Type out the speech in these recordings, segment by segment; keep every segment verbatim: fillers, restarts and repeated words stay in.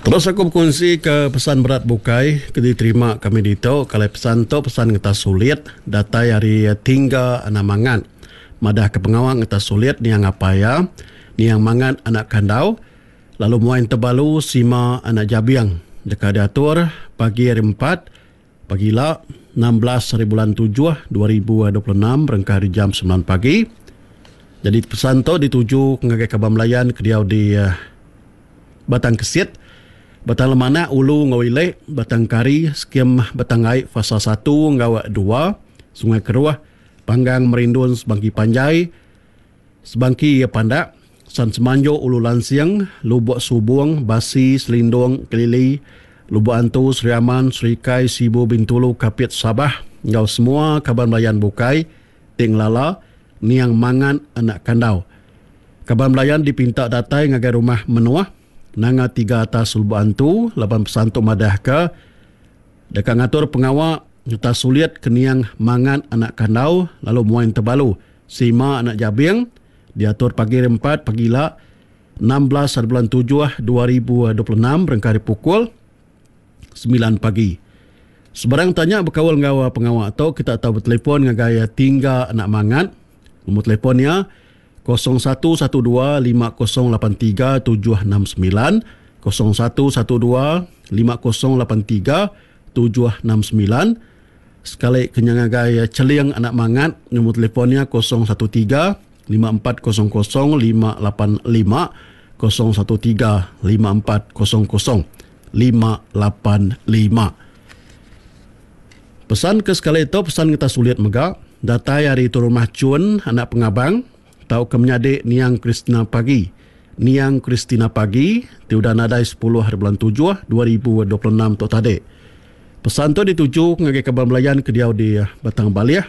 Terus aku bekunsi ke pesan berat bukai ke diterima kami ditu. Kalai pesan tu pesan ngetas sulit datai ari Tingga Anak Mangat. Madah ke pengawa ngetas sulit niang apai iya, niang Mangat Anak Kandau, lalu muai Tebalu Sima Anak Jabing deka diatur pagi hari empat pagila enam belas hari bulan tujuh dua ribu dua puluh enam berengkah hari jam sembilan pagi. Jadi pesan tu dituju ngagai kaban belayan ke diau di Batang Kesit, Batang Lemanak, Ulu enggau Ilek, Batang Kari, Skim Batang Ai Fasa satu enggau dua, Sungai Keruh, Panggang Merindun Sebangki Panjai, Sebangki Pandak, San Semanjok Ulu Lansing, Lubuk Subung, Basi, Selindung, Kelili, Lubuk Antu, Sri Aman, Serikai, Sibu, Bintulu, Kapit, Sabah enggau semua kaban belayan bukai ti ngelala niang Mangat Anak Kandau. Kaban belayan dipinta datai ngagai rumah Menuah Nanga Tiga Atas Lubuk Antu laban pesan tu madahka deka ngatur pengawa nyerta sulit ke niang Mangat Anak Kandau lalu muai Tebalu Sima Anak Jabing diatur pagi hari empat pagila enam belas hari bulan tujuh dua ribu dua puluh enam berengkah hari pukul sembilan pagi. Sebarang tanya berkaul enggau pengawa tu kita tahu bertelefon ngagai Tingga Anak Mangat. Nombor telefon nya kosong satu satu dua lima kosong lapan tiga tujuh enam sembilan, kosong satu satu dua lima kosong lapan tiga tujuh enam sembilan. Sekali kena ngagai Celing Anak Mangat, nombor telefonnya kosong satu tiga lima empat kosong kosong lima lapan lima, kosong satu tiga lima empat kosong kosong lima lapan lima. Pesan ke sekali itu pesan kita sulit mega datai hari itu rumah Chun Anak Pengabang tau ke menyadik niang Christina Pagi. Niang Christina Pagi ti udah nadai sepuluh hari bulan tujuh dua ribu dua puluh enam tu tadi. Pesan tu dituju ngagai kaban belayan ke diau di Batang Balih,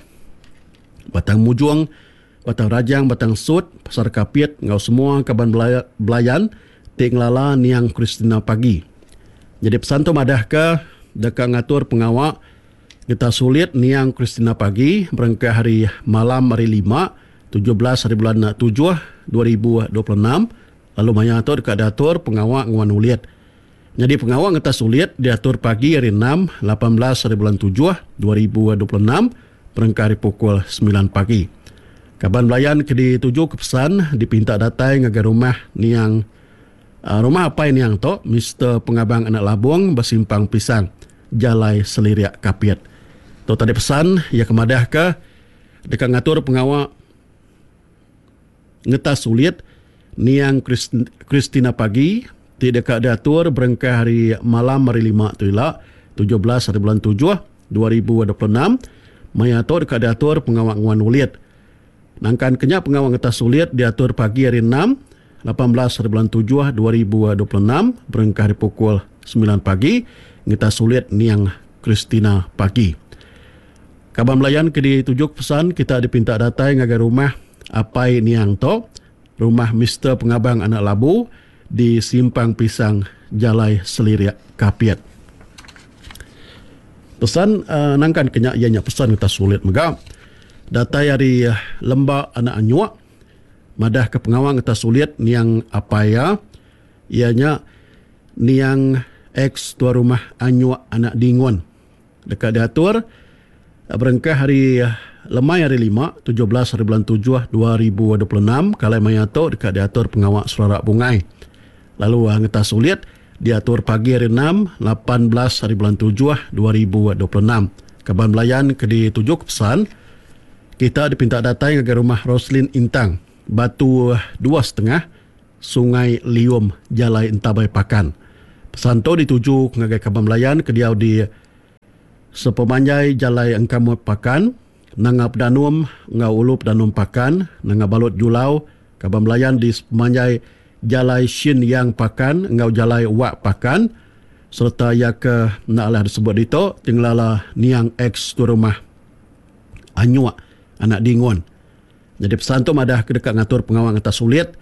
Batang Mujung, Batang Rajang, Batang Sut, Pasar Kapit enggau semua kaban belayan ti ngelala niang Christina Pagi. Jadi pesan tu madah ke deka ngatur pengawa kita sulit niang Christina Pagi berengkah hari malam hari lima tujuh belas hari bulan tujuh dua ribu dua puluh enam lalu maya tu deka diatur pengawa nguan ulit. Jadi pengawa ngetas sulit diatur pagi hari enam lapan belas hari bulan tujuh dua ribu dua puluh enam berengkah hari pukul sembilan pagi. Kaban belayan ke dituju ke pesan dipinta datai ngagai rumah niang rumah apai niang tu Mister Pengabang Anak Labung Besimpang Pisang Jalai Seliriak Kapit. Tu tadi pesan ia kemadah ke deka ngatur pengawa ngetas sulit niang Christina Pagi ti deka diatur berengkah hari malam hari lima tu ila tujuh belas hari bulan tujuh dua ribu dua puluh enam. Maya tu deka diatur pengawa nguan ulit. Nangkan kenya pengawa ngetas sulit diatur pagi hari enam lapan belas hari bulan tujuh dua ribu dua puluh enam berengkah hari pukul sembilan pagi ngetas sulit niang Christina Pagi. Kaban belayan ke ditujuk pesan kita dipinta datai ngagai rumah apai niang tu, rumah Mister Pengabang Anak Labu di Simpang Pisang Jalai Seliriak Kapit. Pesan uh, nangkan kenya ianya pesan kita sulit mega datai hari uh, Lembak Anak Anyuk madah ke pengawang kita sulit niang apai ya ianya niang ex tua rumah Anyuk Anak Dingun deka diatur berengkah hari lemai hari lima tujuh belas hari bulan tujuh dua ribu dua puluh enam kalai maya tu deka diatur pengawak serarak bungai. Lalu ngetas sulit diatur pagi hari enam lapan belas hari bulan tujuh dua ribu dua puluh enam. Kaban belayan ke ditujuk pesan kita dipinta datai ngagai rumah Roslin Intang Batu dua setengah Sungai Lium Jalai Entabai Pakan. Pesan tu dituju ngagai kaban belayan ke diau di sepemanjai Jalai Engkamut Pakan, Nanga Pedanum enggau Ulu Pedanum Pakan, Nanga Balut Julau, kaban belayan di sepemanjai Jalai Shin Yang Pakan enggau Jalai Wak Pakan serta ia ke nak lah disebut ditu tinglala niang ex tu rumah Anyuk Anak Dingun. Jadi pesan tu madah ke dekat ngatur pengawang atas sulit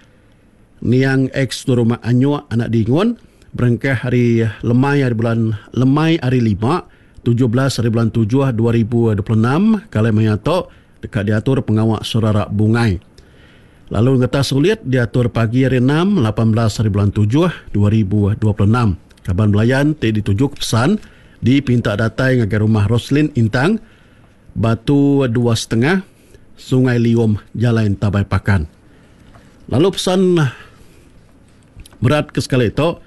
niang ex tu rumah Anyuk Anak Dingun berengkah hari lemai hari bulan lemai hari lima tujuh belas hari bulan tujuh dua ribu dua puluh enam kalai maya tu dekat diatur pengawak serarak bungai. Lalu ngetas sulit diatur pagi hari enam lapan belas hari bulan tujuh dua ribu dua puluh enam. Kaban belayan ti dituju ke pesan dipinta datai ngagai rumah Roslin Intang, Batu dua setengah, Sungai Liom, Jalai Entabai Pakan. Lalu pesan berat ke sekali tu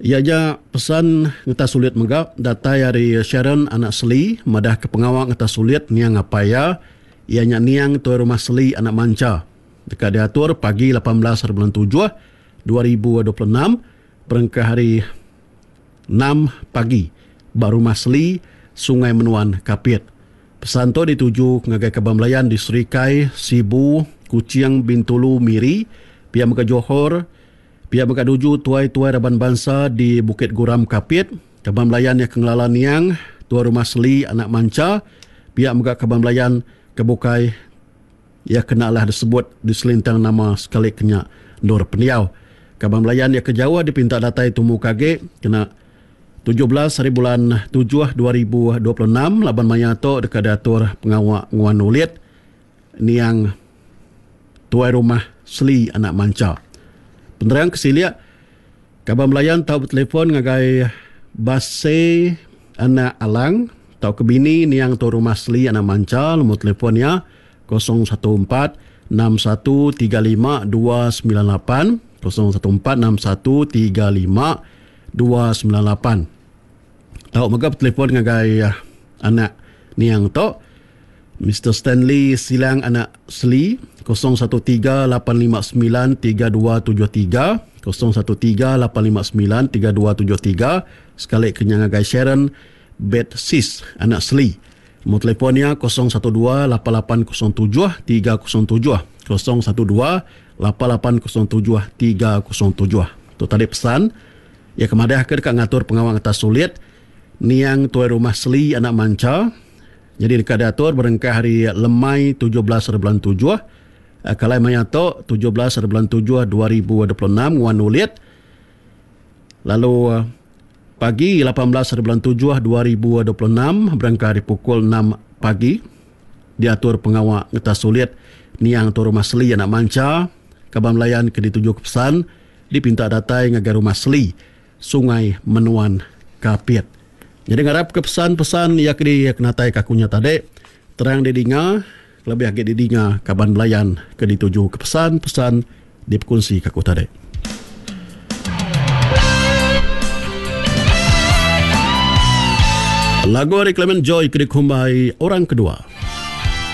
iya nya pesan ngetas sulit mega datai ari Sharon anak Seli madah ke pengawa ngetas sulit niang apai iya, iya nya niang tuai rumah Seli anak Mancha. Deka diatur pagi lapan belas hari bulan tujuh dua ribu dua puluh enam berengkah hari enam pagi ba rumah Seli, Sungai Menuan, Kapit. Pesan tu dituju ngagai kaban belayan di Serikai, Sibu, Kuching, Bintulu, Miri, pia mega Johor, pia mega nuju tuai-tuai raban bansa di Bukit Guram, Kapit, kaban belayan yang kengelala niang, tuai rumah Seli, anak Mancha, pia mega kaban belayan ke bukai ia kena lah disebut di selintang nama sekali kenya endur pendiau. Kaban belayan ia ke jauh dipinta datai tumu kage kena tujuh belas hari bulan tujuh dua ribu dua puluh enam laban maya tu deka diatur pengawa nguan ulit niang tuai rumah Seli anak Mancha. Penerang ke silik kaban belayan tau bertelefon ngagai Base anak Alang tau ke bini niang tuai rumah Seli anak Mancha, nombor telefon ia kosong satu empat enam satu tiga lima dua sembilan lapan, kosong satu empat enam satu tiga lima dua sembilan lapan. Tau mega bertelefon ngagai anak niang tu Mister Stanley Silang anak Seli kosong satu tiga lapan lima sembilan tiga dua tujuh tiga, kosong satu tiga lapan lima sembilan tiga dua tujuh tiga. Sekali kenyang ngagai Sharon Betsis anak Seli. Nombor telefonnya kosong satu dua lapan lapan kosong tujuh tiga kosong tujuh, kosong satu dua lapan lapan kosong tujuh tiga kosong tujuh. Tu tadi pesan ya kemadah ke dekat ngatur pengawang atas sulit niang tuai rumah Seli anak Mancha. Jadi dekat diatur berengkah hari lemai tujuh belas hari bulan tujuh. Kalai maya tu tujuh belas hari bulan tujuh dua ribu dua puluh enam nguan ulit. Lalu pagi lapan belas hari bulan tujuh dua ribu dua puluh enam berengkah hari pukul enam pagi diatur pengawak ngetas sulit niang tuai rumah Seli anak Mancha. Kaban belayan ke dituju ke pesan dipinta datai ngagai rumah Seli, Sungai Menuan, Kapit. Jadi ngarap ke pesan-pesan yang di kenatai kakunya tadi terang didinga, lebih agi didinga kaban belayan ke dituju ke pesan-pesan diperkongsi kaku tadi. Lagu ari Clement Joy ke dikumbai Orang Kedua.